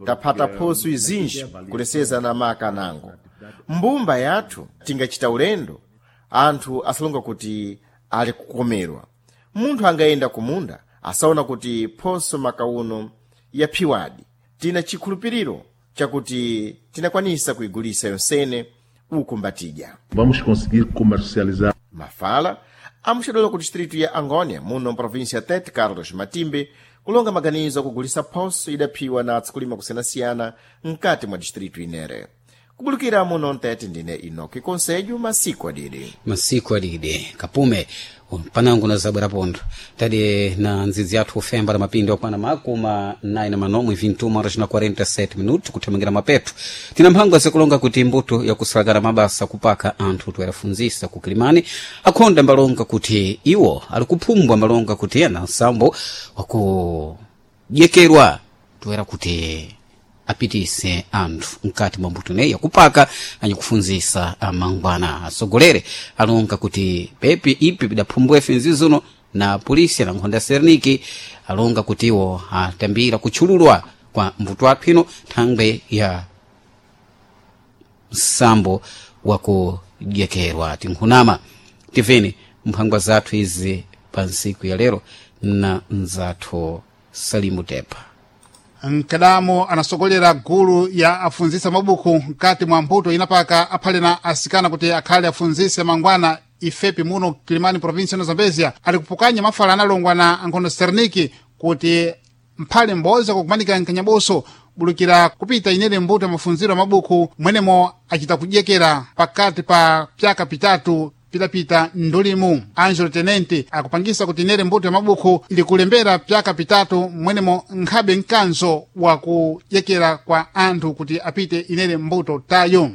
Taphata phoso izinji kuleseza na maka anango. Mbumba yathu tingachita ulendo anthu asalonga kuti ali kukomerwa. Munthu angayenda kumunda asaona kuti phoso maka uno yaphiwadi. Tina chikhulupiriro chakuti tinakwanisa kuigulisa yonsene uku mbatidya. Vamos conseguir comercializar. Mafala amuxedwela ku distritu ya Angônia, muno mprovíncia Tete Carlos Matimbe, kulonga maganizo akugulisa phoso idaphiwa na atsukulima kusiyanasiyana mkati mwa distritu inere. Kubulukira muno mtete ndine Inoki Conselho, masiku adidi. Masiku adidi kapume panango na zabwera pontho tadi na ndzidzi yathu ufemba la mapindi okwana makumi nayi na manomwe 21 horas na 47 minutos kuthamangira mapeto. Tina mphango azikulonga kuti mbuto yakusalakana mabasa kupaka anthu toyerafunzisa ku Kilimani akhonda mbalonga kuti iwo ali kuphumbwa mbalonga kuti ena nsambo wakujekerwa toyera kuti apitise anthu mkati mwa mbuto ineyi yakupaka anyakufunzisa amangwana. Asogolere alonga kuti pepi ipi bidaphumbwefe nzizuno na polisi na nkhonda serniki alonga kuti iwo atambira kutchululwa kwa mbuto athu ino thangwe ya msambo wakujekerwa. Tinkhunama tiveni mphangwa zathu izi pa ntsiku ya lero na mzathu Salimu Tepa. Nkadamo anasogolera gulu ya afunzisa mabuku mkati mwa mbuto inapaka aphale na asikana kuti akhale afunzise mangwana ifepi muno Kilimani, província ya Zambezia, ali kupukanya mafala analongwa na ankhondo Serniki kuti mphale m'bodzi akukumanika nkanyaboso bulukira kupita inene mbuto ya mafunziro ya mabuku mwenemo acita kudyekera pakati pa pyaka pitatu pitapita ndulimu. Angelo Tenente akupangisa kuti inere mbuto ya mabuku ili kulembera pyaka pitatu mwenemo nkhabe mkanzo wakudyekera kwa anthu kuti apite inere mbuto tayo.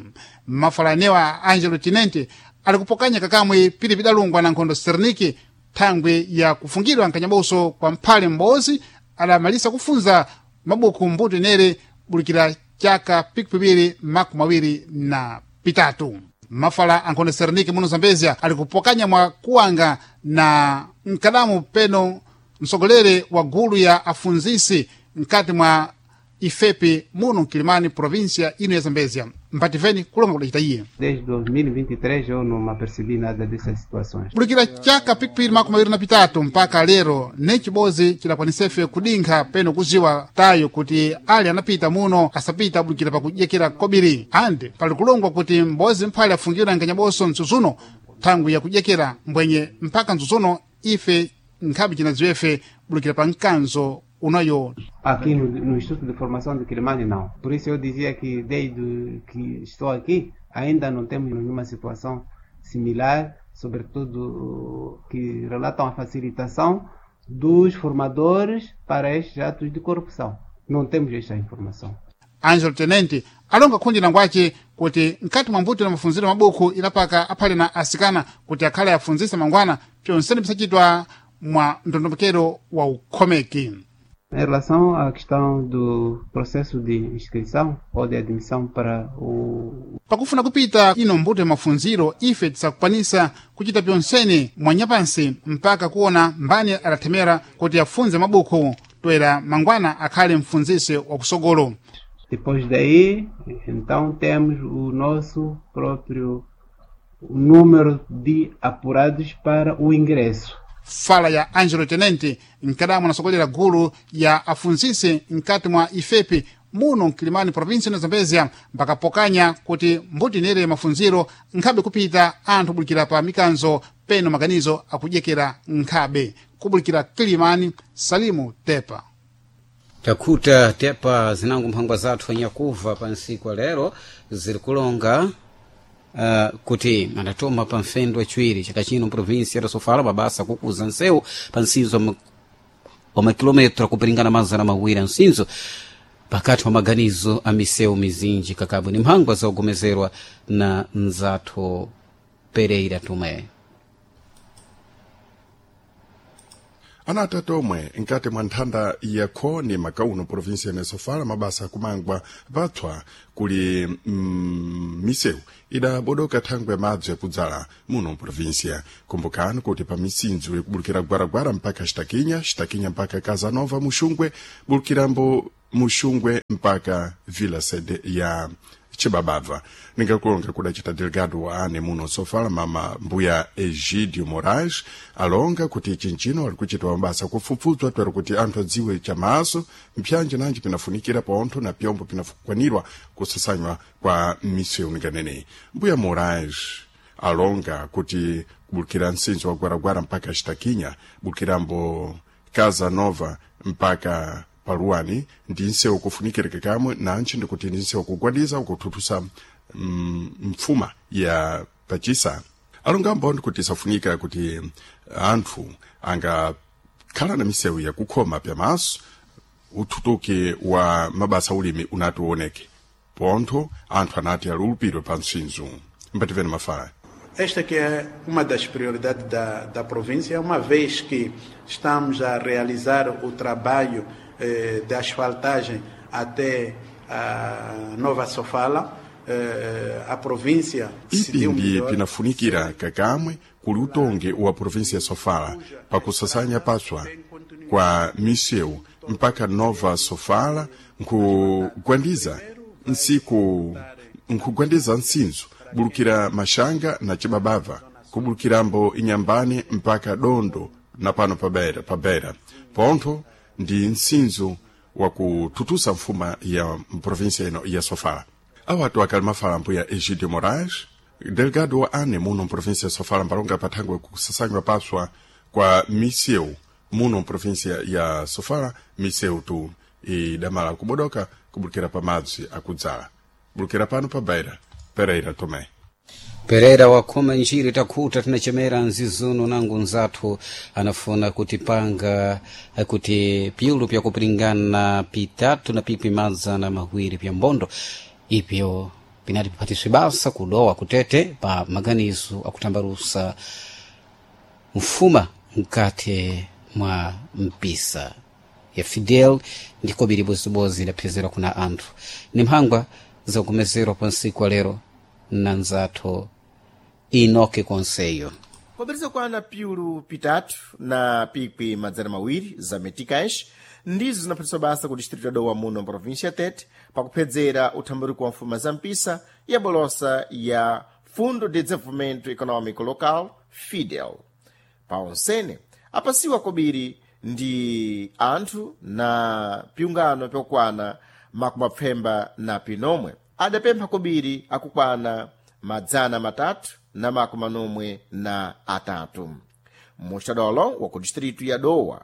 Mafala anewa Angelo Tenente ali kupokanya kakamwe pili pidalungwa na nkhondo Serniki thangwi ya kufungidwa nkanyaboso kwa mphale m'bodzi adamalisa kufunza mabuku mbuto inere bulikira chaka pikipibiri 23. Mafala ankhondo Serniki muno Zambezia ali kupokanya mwa kuwanga na mkadamu peno msogolere wa gulu ya afunzisi mkati mwa ifepi muno Kilimani, província ino ya Zambezia. Mpativeni kulonga kudacita iye. Desde 2023 eu não me apercebi nada dessas situações. Bulikira chaka pikipiri 23 mpaka lero ne chibodzi chidakwanisefe kudinkha peno kuziwa tayo kuti ali anapita muno asapita bulikira pakudyekera kobiri andi pali kulongwa kuti m'bodzi mphale afungidwa nkanyaboso mtsutsuno thangwi yakudyekera mbwenye mpaka mtsutsuno ife nkhabe cinadziwefe bulikira pa mkanzo unayo. Aqui no Instituto de Formação de Quilimane, não. Por isso eu dizia que desde que estou aqui, ainda não temos nenhuma situação similar, sobretudo que relatam a facilitação dos formadores para estes atos de corrupção. Não temos esta informação. Angelo Tenente alonga khundi langwace kuti mkati mwa mbuto na mafunziro mabuku inapaka aphale na asikana kuti akhale afunzisa mangwana pyonsene pisachitwa mwa ndondomekero wa ukhomeki. Em relação à questão do processo de inscrição ou de admissão para o Pakufuna kupita ino mbuto ya mafunziro ife tisakukwanisa kuchita pyonsene mwanyapansi mpaka kuona mbani adathemera kuti afunze mabuku toera mangwana akhale mfunzisi wakusogolo. Depois daí, então temos o nosso próprio número de apurados para o ingresso. Fala ya Angelo Tenente mkadamu anasogolera gulu ya afunzisi mkati mwa ifepi muno mkilimani, província ya Zambezia, mpakapokanya kuti mbuto inere mafunziro nkhabe kupita anthu bulikira pa mikanzo peno maganizo akudyekera nkhabe kubulikira Kilimani. Salimu Tepa. Takhuta Tepa zinango mphangwa zathu anyakuva pa ntsiku ya lero ziri kulonga kuti adatoma pa mfendo wachiwiri chaka chino mprovinsi ya Sofala mabasa kukuza nsewu pa nsinzo wa makilometro akupiringana 200 a nsinzo pakati pa maganizo a misewu mizinji kakabwe ni mphangwa zogomezerwa na mzathu Pereira Tomé. Ana atatu omwe nkati mwa nthanda ya khoni makauno provinsia ya Sofala mabasa akumangwa patswa kuli misewu idabodoka thangwe madzi yakudzala muno provinsia. Kumbukani kuti pa misinzo ikubulukira Gwaragwara mpaka Xitakinya, Xitakinya mpaka Casanova Muxungwe, bulukirambo Muxungwe mpaka Vila Sede ya Chibabava. Ningakulonga kudacita delegado wa ane muno Sofala mama mbuya Egidio Moraes alonga kuti chinchino ali kuchita mabasa kufufudzwa twero kuti anthu adziwe chamaso mpyanji nanji pinafunikira pontho na pyombo pinakwanirwa kusasanywa kwa misewu ninganeneyi. Mbuya Moraes alonga kuti kubulukira msinzo wa Gwaragwara mpaka Xitakinya, bulukirambo Casa Nova mpaka paluwani ndi nsewu kufunikirika kamwe nantchi ndikuti ndi nsewu kugwadiza ukuthuthusa mfuma ya pachisa. Alongambo ndikuti isafunika kuti anthu angakhala na misewu yakukhoma pyamaso uthutuki wa mabasa ulimi unati uoneke pontho anthu anati alulupidwe pa msinzo. Mbativeni mafala. Esta que é uma das prioridades da província, uma vez que estamos a realizar o trabalho de asfaltagem até a Nova Sofala, a província decidiu Ipi ndi melhor. pinafunikira kakamwe kuli utongi wa província ya Sofala pakusasanya paswa kwa misewu mpaka Nova Sofala nkugwandiza nsiku nkugwandiza nsinzo bulukira Maxanga na Chibabava, kubulukirambo Inyambani mpaka Dondo na pano pabera pontho ndi nsinzo wakututusa mfuma ya província ino ya Sofala. Awatu akali mafala mbuya Egidio Moraes, delegado wa ane muno mprovinsia ya Sofala mbalonga pathangwe kusasanywa paswa kwa misewu muno mprovinsia ya Sofala, misewu tu idamala kubodoka kubulukira pa madzi akudzala. Bulukira pano pa Beira, Pereira Tomé. Pereira wakhoma njiri takhuta tinachemera nzizuno nangu nzathu anafuna kutipanga kuti pyulu pyakupiringana pitatu na pipi madzana mawiri pya mbondo ipyo pinati piphatiswe basa kudowa kutete pa maganizo akutambalusa mfuma mkati mwa mpisa ya Fidel ndikobiri bozibozi idaphezerwa kuna anthu ni mphangwa zakumezerwa pa nsiku wa lero na nzathu Enoque Conselho. Popeza kwana piulu pitatu na pikwi madzana mawiri za meticais ndizo zinaphatiswa basa ku distrito ya Dowa muno província ya Tete pakuphedzera uthambaruko wa mfuma za mpisa ya bolosa ya Fundo de Desenvolvimento Econômico Local FIDEL. Pa onsene apasiwa kobiri ndi anthu na piungano pyokwana makumapfemba na pinomwe adapempha kobiri akukwana 343. Muxadolo wa ku distritu ya Dowa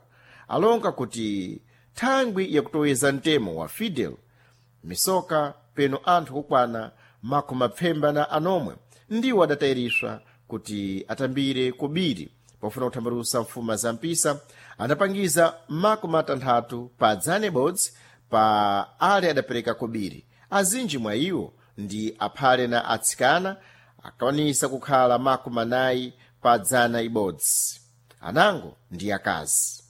alonga kuti thangwi yakutoweza mtemo wa Fidel misoka peno anthu kukwana 96 ndiwo adatayiriswa kuti atambire kobiri pofuna kuthambalusa mfuma za mpisa adapangiza 60 pa dzanebodzi pa ale adapereka kobiri. Azinji mwa iwo ndi aphale na atsikana akwanisa kukhala 40 pa dzana ibodzi, anango ndi akazi.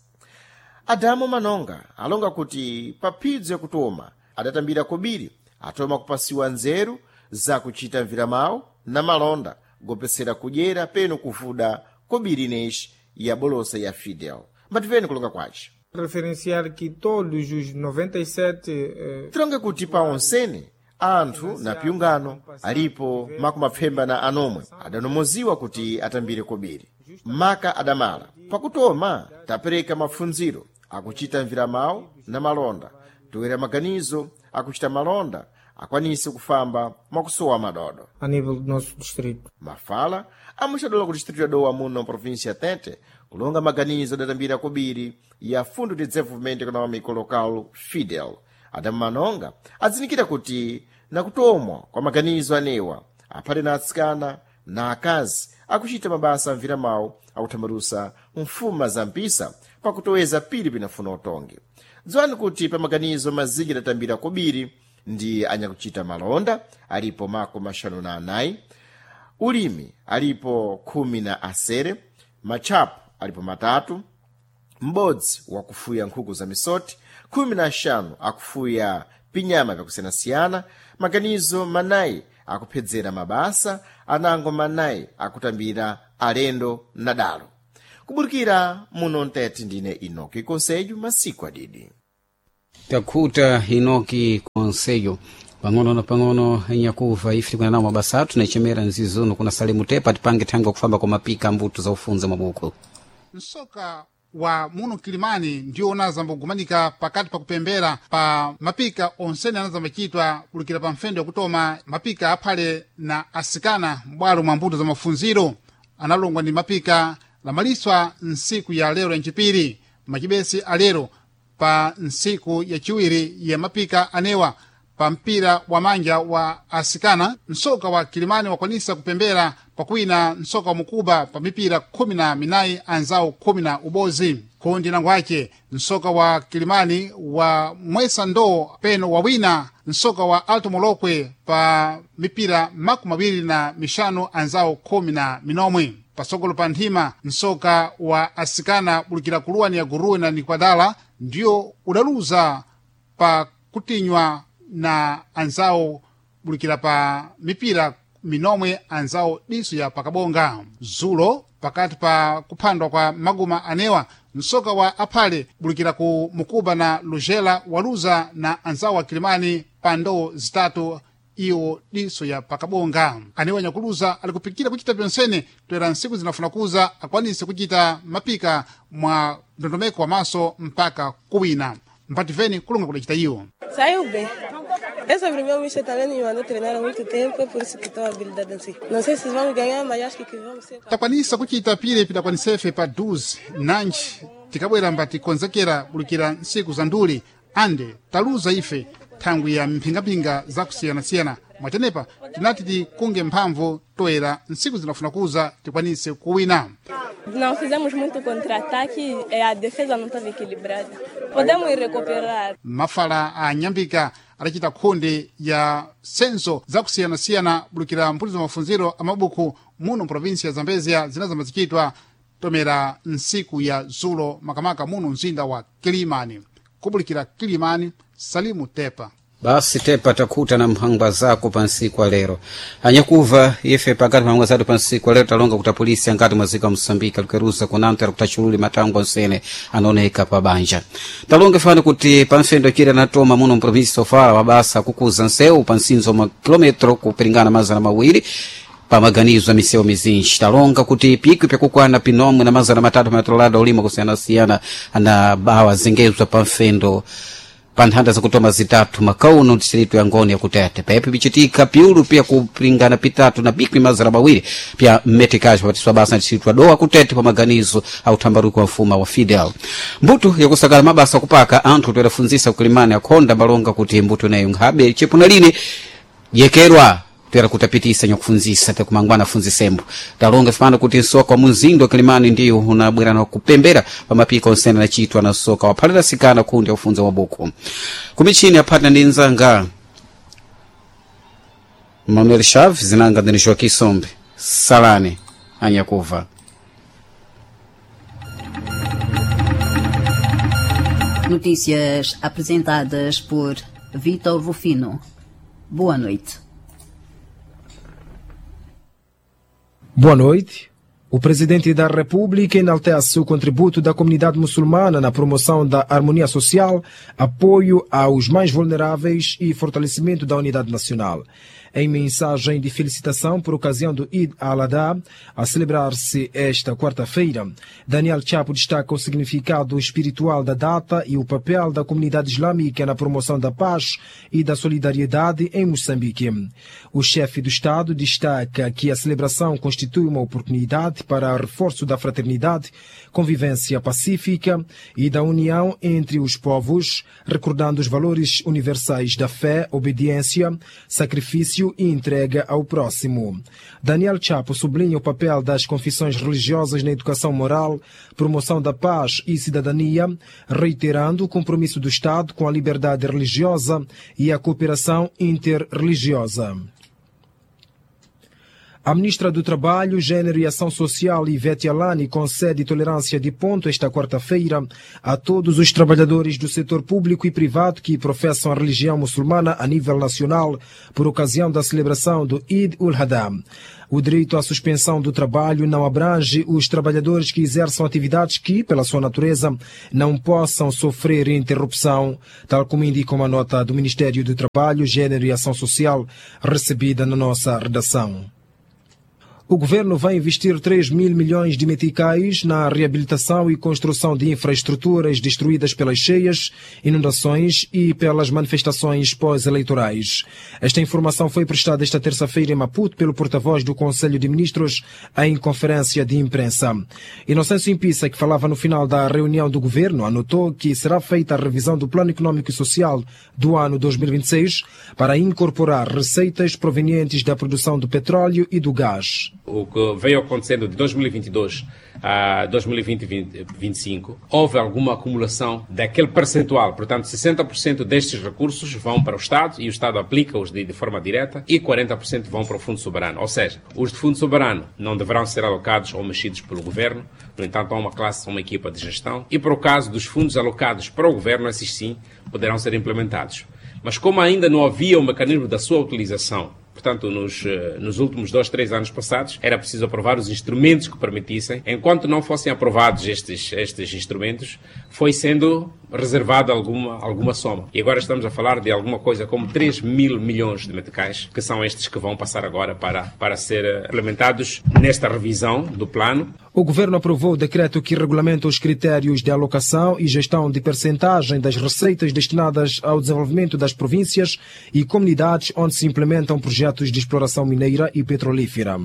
Adamo Manonga alonga kuti pa phidzo yakutoma adatambira kobiri atoma kupasiwa nzeru zakuchita mviramawu na malonda gopesera kudyera peno kuvuda kobiri ineyi ya bolosa ya Fidel. Mbativeni kulonga kwace. Referenciar que todos os 97 Tilonge kuti pa onsene anthu na piungano alipo 96 adanomoziwa kuti atambire kobiri maka adamala. Pakutoma tapereka mapfundziro akuchita mviramawu na malonda, toera maganizo akuchita malonda akwanise kufamba mwakusowa madodo. a nível do nosso distrito. Mafala amuxadola ku distrito ya Dowa muno província ya Tete kulonga maganizo adatambira kobiri ya Fundo de Desenvolvimento Econômico Local Fidel. Adamu Manonga adzinikira kuti nakutomwa kwa maganizo anewa aphale na atsikana na akazi akuchita mabasa amviramawu akuthambalusa mfuma za mpisa pakutoweza pili pinafuna utongi. Dziwani kuti pa maganizo mazinji adatambira kobiri ndi anyakuchita malonda alipo 54, ulimi alipo 16, matchapo alipo 3, M'bodzi wakufuya nkhuku za misoti, 15 akufuya pinyama vyakusiyanasiyana, maganizo manayi akuphedzera mabasa, anango manayi akutambira alendo na dalo. Kuburukira muno mtete ndine Inoki Konsejo, masiku adidi. Takhuta Inoki Konsejo. Pang'ono na pang'ono nyakuva ife tikuna nawo mabasa athu naichemera nzizuno kuna Salemu Tepa tipange thangwi kufamba kwa mapika mbuto za ufunza mabuku. Msoka wa muno Kilimani ndiwo unazambogumanika pakati pa kupembera pa mapika onsene anazambachitwa kulukira pa mfendo yakutoma mapika aphale na asikana m'bwalo mwa mbuto za mafunziro analongwa ndi mapika lamaliswa nsiku ya lero yancipiri macibesi alero pa nsiku yaciwiri ya mapika anewa pa mpira wa manja wa asikana msoka wa Kilimani wakwanisa kupembera pakwina msoka wa mukuba pa mipira 14 anzawo 11 kundi nango ace msoka wa Kilimani wa mwesa ndoo peno wawina msoka wa Alto Molokwe pa mipira 25 anzawo 19 pasogolo pa nthima msoka wa asikana bulukira kuluwani ya guruwe na nikwadala ndiyo udaluza pa kutinywa na anzawo bulukira pa mipira minomwe anzawo diso ya pakabonga. Zulo pakati pa kuphandwa kwa maguma anewa msoka wa aphale bulukira ku mukuba na lujela waluza na anzawo wa Kilimani pa ndoo zitatu iwo diso ya pakabonga. Anewa nyakuluza alikupikira kuchita pyonsene toera nsiku zinafuna kuza akwanise kuchita mapika mwa ndondomeko wa maso mpaka kuwina. Mpativeni kulunga kudacita iwo. Saiu bem. É sobre o meu mister também me mandou treinar há muito tempo, é por isso que estou habilidade assim. Não sei se vamos ganhar, mas acho que vamos ser. Takwanisa kuchita pile pidakwanisefe pa 12 nanji tikabwera mbatikonzekera bulukira nsiku za nduli ande taluza ife thangwi ya mphingapinga zakusiyanasiyana mwatenepa tinati tikunge mphamvu toera nsiku zinafuna kuza tikwanise kuwina. Não fizemos muito contra-ataque e a defesa não estava equilibrada. Podemos recuperar. Mafala a nyambika adacita khunde ya senso zakusiyanasiyana bulukira mphutizo za mafunziro a mabuku muno mprovinsi ya Zambezia zinazambazichitwa tomera nsiku ya zulo makamaka muno mzinda wa Kilimani. Kubulikira Kilimani, Salimu Tepa. Basi Tepa takhuta na mphangwa zako pa nsiku alero. Anyakuva ife pakati mphangwa zathu pa nsiku alero talonga kuti apolisi angati mwazika wa Moçambique alikuweruza kunanto alikuta matangwa nsene anaoneka pa banja. Talonga fano kuti pa mfendo chire anatoma muno mprovinsi Sofala mabasa kukuza nsewu pa nsinzo ma kilometro kupiringana 200 pamaganizo a misewu mizinji. Talonga kuti pikwi pyakukwana pinomwe na 300 matolada ulima kusiyanasiyana ana bawa zengezwa pa mfendo pa nthanda zakutoma zitatu makauno distritu ya ngoni yakutete pepi pichitika piulu pya kupringana pitatu na bikwi 200 pya mmetekaji papatiswa basa na distritu ya dowa kutete pa maganizo a uthambaruko wa mfuma wa Fidel. Mbuto yakusakala mabasa kupaka anthu toyerafunzisa kulimani akhonda malonga kuti mbuto inayo nkhabe chepuna lini yekerwa toyera kutapitisa nyakufunzisa takumangwana afunzisembo. Talonga fana kuti msoka wa munzindo Kilimani ndiyo unabwera na kupembera pa mapika onsene anachitwa na soka waphalira sikana kundi akufunza mabuku. Kumichini aphata ndi nzanga Manuel Chaves zinanga ndini Joaquim Sombe. Salani anyakuva. Notícias apresentadas por Vitor Rufino. Boa noite. Boa noite. O presidente da República enaltece o contributo da comunidade muçulmana na promoção da harmonia social, apoio aos mais vulneráveis e fortalecimento da unidade nacional. Em mensagem de felicitação por ocasião do Eid al-Adha, a celebrar-se esta quarta-feira, Daniel Chapo destaca o significado espiritual da data e o papel da comunidade islâmica na promoção da paz e da solidariedade em Moçambique. O chefe do Estado destaca que a celebração constitui uma oportunidade para reforço da fraternidade, convivência pacífica e da união entre os povos, recordando os valores universais da fé, obediência, sacrifício e entrega ao próximo. Daniel Chapo sublinha o papel das confissões religiosas na educação moral, promoção da paz e cidadania, reiterando o compromisso do Estado com a liberdade religiosa e a cooperação interreligiosa. A ministra do Trabalho, Gênero e Ação Social, Ivete Alani, concede tolerância de ponto esta quarta-feira a todos os trabalhadores do setor público e privado que professam a religião muçulmana a nível nacional por ocasião da celebração do Eid ul-Adha. O direito à suspensão do trabalho não abrange os trabalhadores que exerçam atividades que, pela sua natureza, não possam sofrer interrupção, tal como indica uma nota do Ministério do Trabalho, Gênero e Ação Social recebida na nossa redação. O governo vai investir 3 mil milhões de meticais na reabilitação e construção de infraestruturas destruídas pelas cheias, inundações e pelas manifestações pós-eleitorais. Esta informação foi prestada esta terça-feira em Maputo pelo porta-voz do Conselho de Ministros em conferência de imprensa. Inocêncio Impissa, que falava no final da reunião do governo, anotou que será feita a revisão do Plano Econômico e Social do ano 2026 para incorporar receitas provenientes da produção do petróleo e do gás. O que veio acontecendo de 2022 a 2025, houve alguma acumulação daquele percentual. Portanto, 60% destes recursos vão para o Estado e o Estado aplica-os de forma direta e 40% vão para o Fundo Soberano. Ou seja, os de Fundo Soberano não deverão ser alocados ou mexidos pelo Governo. No entanto, há uma classe, uma equipa de gestão. E para o caso dos fundos alocados para o Governo, esses sim poderão ser implementados. Mas como ainda não havia um mecanismo da sua utilização, portanto, nos últimos 2, 3 anos passados, era preciso aprovar os instrumentos que permitissem. Enquanto não fossem aprovados estes instrumentos, foi sendo reservada alguma soma. E agora estamos a falar de alguma coisa como 3 mil milhões de meticais, que são estes que vão passar agora para ser implementados nesta revisão do plano. O governo aprovou o decreto que regulamenta os critérios de alocação e gestão de percentagem das receitas destinadas ao desenvolvimento das províncias e comunidades onde se implementam projetos de exploração mineira e petrolífera.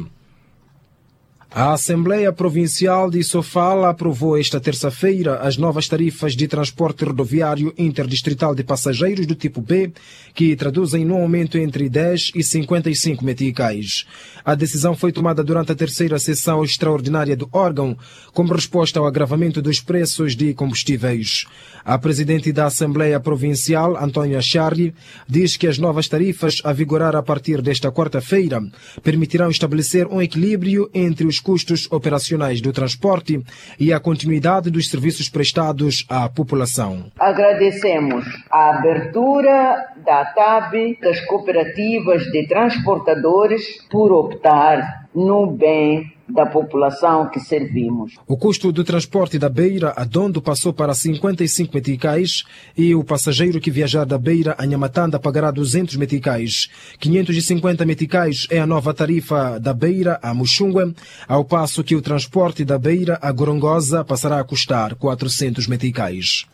A Assembleia Provincial de Sofala aprovou esta terça-feira as novas tarifas de transporte rodoviário interdistrital de passageiros do tipo B, que traduzem num aumento entre 10 e 55 meticais. A decisão foi tomada durante a terceira sessão extraordinária do órgão, como resposta ao agravamento dos preços de combustíveis. A presidente da Assembleia Provincial, Antónia Charri, diz que as novas tarifas a vigorar a partir desta quarta-feira permitirão estabelecer um equilíbrio entre os custos operacionais do transporte e a continuidade dos serviços prestados à população. Agradecemos a abertura da TAB, das cooperativas de transportadores, por optar no bem da população que servimos. O custo do transporte da Beira a Dondo passou para 55 meticais e o passageiro que viajar da Beira a Nhamatanda pagará 200 meticais. 550 meticais é a nova tarifa da Beira a Muxungue, ao passo que o transporte da Beira a Gorongosa passará a custar 400 meticais.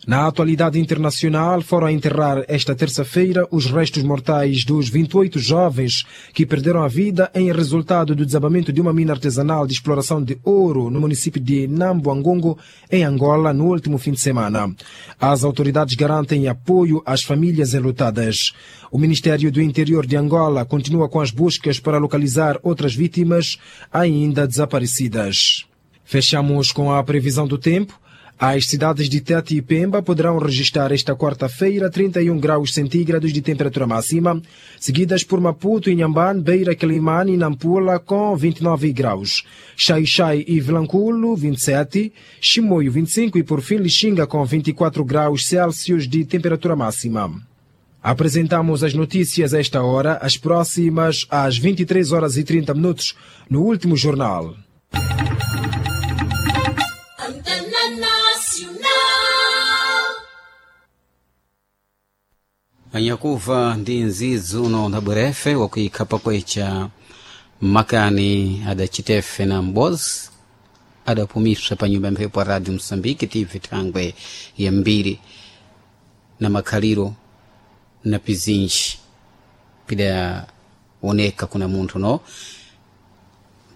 Na atualidade internacional, foram a enterrar esta terça-feira os restos mortais dos 28 jovens que perderam a vida em resultado do desabamento de uma mina artesanal de exploração de ouro no município de Nambuangongo, em Angola, no último fim de semana. As autoridades garantem apoio às famílias enlutadas. O Ministério do Interior de Angola continua com as buscas para localizar outras vítimas ainda desaparecidas. Fechamos com a previsão do tempo. As cidades de Tete e Pemba poderão registrar esta quarta-feira 31 graus centígrados de temperatura máxima, seguidas por Maputo, Inhambane, Beira, Quelimane e Nampula com 29 graus. Xai-Xai e Vilanculo, 27, Chimoio, 25 e por fim Lixinga com 24 graus Celsius de temperatura máxima. Apresentamos as notícias a esta hora, as próximas às 23h30 no último jornal. Anyakuva ndi nzizi uno na bwerefe wakuikhapa kwecha makani adacitefe na mbozi adapumiswa pa nyumba ya mphepo ya radio Msambiki TV thangwe ya mbiri na makhaliro na pizinji pidaoneka kuna munthu no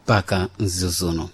mpaka nzizi uno.